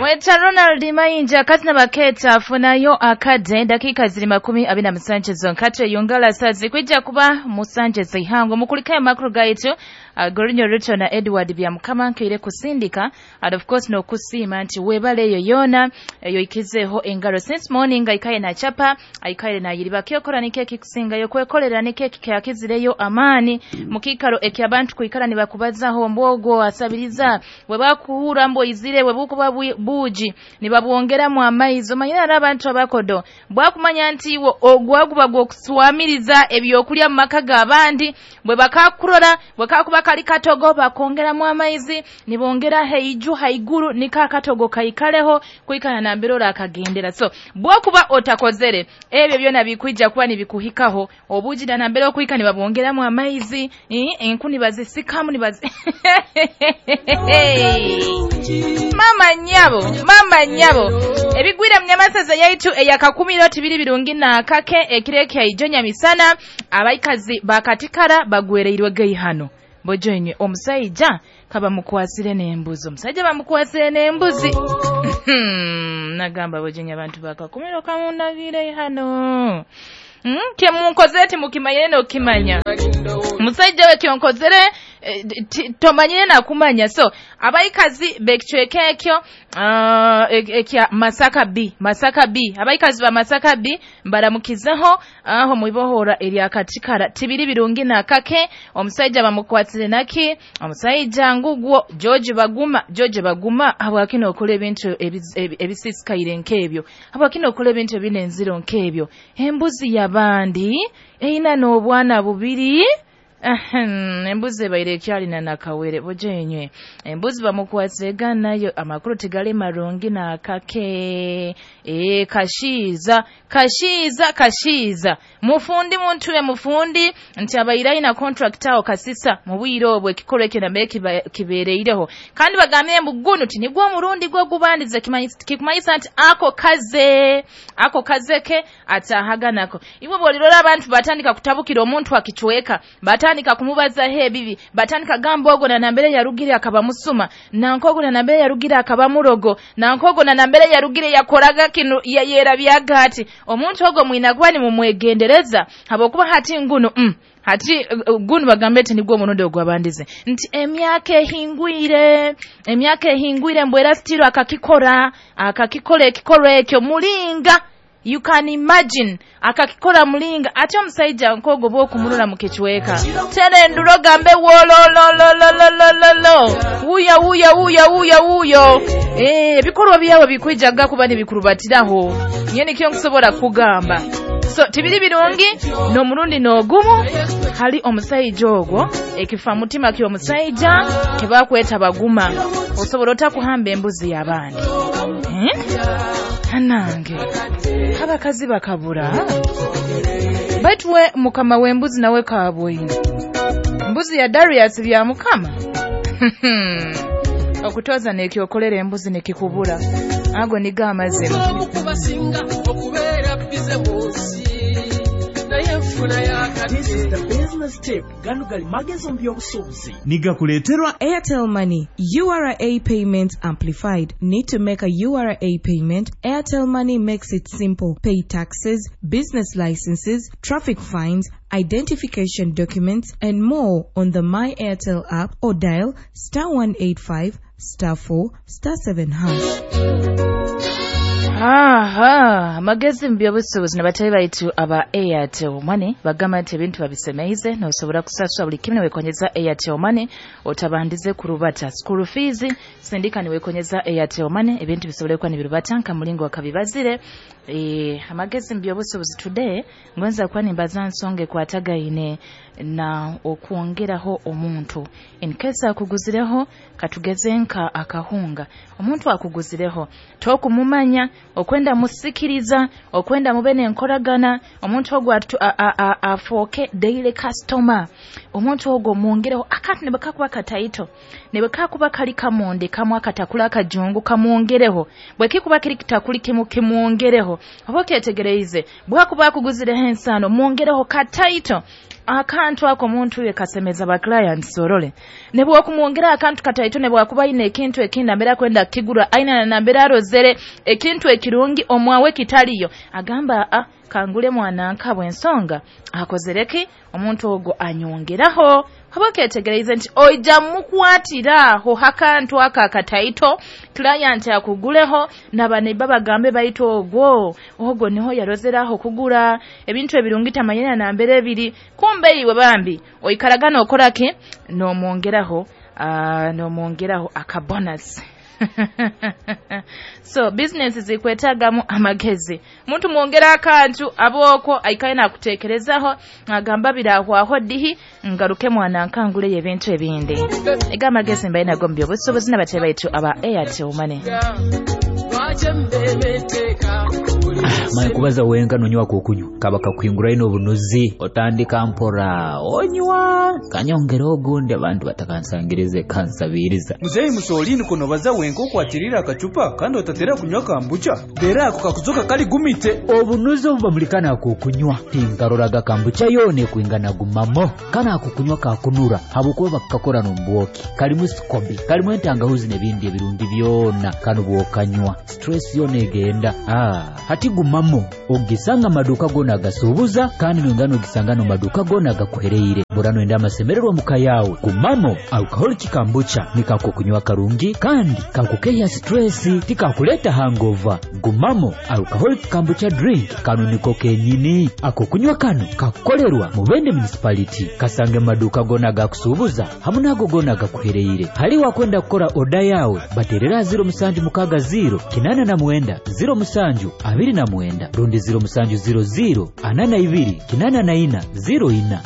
Bamweta Ronald Mayinja kati baketa afunayo akadde dakika ziri 27 zonka yongala sazi kwijja kuba musanje zihango mukulikayo makuru gaitu Gorinyo Ruto na Edward Byamukama nkeire kusindika and of course no kusima nti webale eyo yona eyo ikizeho engaro since morning aikaye na chapa aikaye na yiriba kyokora ni keki kusinga yo kwekolera ni keki kyakizireyo amani mukikaro ekyabantu kuikara ni bakubazaho mbwogo asabiriza webakuhura mbo izire webukuba buji nibabwongeramu amaizo manyina abantu abakodo bwakumanya nti ogwaguba gwokuswamiriza ebyokulya mu maka g'abandi bwe bakakurora bwekakuba kali katogo bakongeramu amaizi nibongera heiju haiguru nika katogo kaikaleho kuikana na mbirora akagendera. So bwokuba otakozere ebyo byona bikuija kuba nibikuhikaho obuji na mbere okuika nibabongeramu amaizi enkuni bazisikamu nibazi Mama nyabo ebigwira mnyamasaza yaitu eyakakumiro tibiri birungi na kake ekireke ijonya misana abaikazi bakatikara bagwereirwe geihano bojoinywe omusajja kaba mukwasire n'embuzi omusajja bamukwasire n'embuzi nagamba bojoinywe abantu bakakumiro kamundagire hano kemunkozere timukimanyire n'okimanya musajja we kyonkozere tomanyire na kumanya. So abaikazi bekicweka ekyo ekya Masaka B abaikazi ba Masaka B mbaramukizeho aho mwibohora erya katikara tibiri birungi na kake omusajja bamukwatire naki omusajja ngugwo George Baguma habwakino okola ebintu ebisisikaire nkebyo habwakino okola ebintu ebinenziro nkebyo embuzi yabandi eina n'obwana bubiri. Embuzi ebaire ekyalina nakawere bojenywe embuzi bamukwasega nayo amakuru tigale marungi na kake kashiza mufundi muntu mufundi nti abaire na contract awo kasisa mu bwiro obwe ekikolo ekyo nambe kibeereireho kandi bagamye mugunu ti nigwo omurundi gwo gubandize kikumanyisa nti ako kazeke atahaganako iwe bolirora abantu batandika kutabukira omuntu akichweka batandika kumubaza he bibi batandika gamba ogo na nambere yarugire akaba musuma na nkogo na nambere yarugire akaba murogo na nkogo na nambere yarugire yakoraga kinu yera byagati omuntu ogo mwinagwa ni mumwegendereza habokuba hati nguno hati gunu bagambe ati nigwo murundi ogwabandize nti emyaka ehingwire mbwera stiro akakikora ekikoro ekyo mulinga. You can imagine akakikora mulinga ate omusajja nkogo bwokumulula mu kichweka tere nduro gambe wolololololololo wuya wuya wuya wuya wuyo ebikorwa byawe bikwijaga kuba nibikurubatiraho nyene kiyo nkusobola kugamba. So tibiri birungi no murundi n'ogumu hali omusajja ogwo ekifa mutima kyo omusajja kebakweta Baguma osobola otakuhamba embuzi y'abandi Anange abakazi bakabura baitwe mukama w'embuzi nawe kabwine mbuzi ya Darius bya mukama okutoza nekyokolera embuzi nekikubura ago niga amazima. This is the business tip. Gano gali magezo mbyobusuubuzi. Nigakuleterwa Airtel Money. URA payment amplified. Need to make a URA payment? Airtel Money makes it simple. Pay taxes, business licenses, traffic fines, identification documents, and more on the My Airtel app or dial *185 *4 *7#. Aha, amagezi mbyobusuubuzi n'abatali baitu aba Airtel Money bagamba nti ebintu babisemeize n'osobola kusasula buli kimu niwekonyeza Airtel Money otabandize kurubata school fees sindika niwekonyeza Airtel Money ebintu bisobole kuba nibirubata nka mulingo wakabibazire. Amagezi mbyobusuubuzi today ngwenza kuba nimbaza nsonge kwatagaine na okwongeraho omuntu in case akuguzireho katugeze nka akahunga omuntu akuguzireho tokumumanya Okwenda musikiriza, okwenda mube n'enkoragana, omuntu ogwo afooke daily customer. Omuntu ogwo mwongereho akantu ne bakakuba kataito, ne bakakuba kali kamonde kamwe akatakula akajungu kamwongereho, bwekikuba kiri kitakuli kimu kimwongereho. Oba okyetegereize, bwakuba akuguzireho ensano mwongereho kataito akantu ako omuntu uye kasemeza ba clients orole. Ne bwakumwongera akantu kataito ne bwakuba ine ekintu ekindi ambera kwenda kigura aina na nambera arozere ekintu ekirungi omwawe kitaliyo, agamba kangule mwana nkabwe ensonga akozereki omuntu ogwo anyongeraho. Oba okyetegereize nti oija mukwatiraho akantu aka kataito client akuguleho nabaneiba bagambe baitu ogwo ogwo niho yarozeraho kugura ebintu ebirungi tamanyana nambere ebiri, kumbe iwe bambi oikaragana okoraki nomwongeraho nomwongeraho akabonus. So business zikwetagamu amagezi. Muntu mwongera akantu aboko aikaye nakutekerezaho agamba birahwaho dihi ngaruke mwana nkangule ebintu ebindi. Ega amagezi mbaye nago mbyo busobozi n'abatebe baitu aba Airtel Money. Maye kubaza wenka nonywa kukunywa kaba kakuhingura ino obunuzi otandika mpora onywa kanyongera ogundi abantu batakansangirize kansabiriza. Muzeyi musolini kuno baza wenka okwatirira akacupa kandi otatera kunywa kambucha dera ako kakuzoka kali gumite obunuzi obubamulikana kukunywa tinkaroraga kambucha yone kuingana gumamo kana akukunywa kakunura habukuba bakakora nombwoki kalimu sikobi kalimu entangahuzi n'ebindi ebirungi byona kano bwokanywa stress yone egenda hati gumamo ogisanga maduka gona agasubuza kandi nongano ogisanga no maduka gona agakuhereire burano enda amasemererwa muka yawe. Gumamo alcoholic kambucha nikakukunywa karungi kandi kakukeya stress tikakuleta hangover. Gumamo alcoholic kambucha drink kano niko kenyini ako kunywa kano kakukolerwa Mubende municipality kasange maduka gona agakusubuza hamwe nago gona agakuhereire. Hali wakwenda kukora oda yawe baterera 0760 89 07 29 rundi 0700 42 84 04.